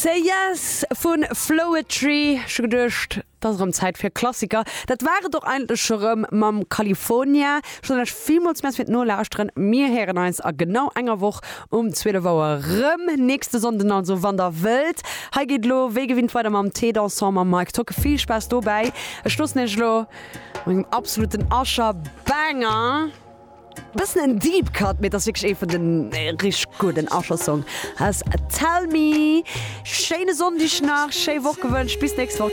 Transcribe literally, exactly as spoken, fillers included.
Say Yes vun Floetry. Ech hu geduecht, et ass erëm Zäit fir Klassiker. Dat war et och eigentlech scho rëm mam California. Ech soen lech villmools Merci fir d'Nolauschteren. Mir héieren eis a genau enger Woch um zwielef Auer rëm, nächste Sonnden also, wann der wëllt. Hei geet elo wéi gewinnt weider mam Thé Dansant mam Mike Tocke. Vill Spaass dobäi. Ech loossen iech elo mat engem absoluten Usher Banger. Bëssen en Deep Cut, mee et ass wierklech ee vun den richteg gudden Usher Song ass Tell Me. Schéine Sonndeg nach, schéi Woch gewënscht, bis nächst Woch.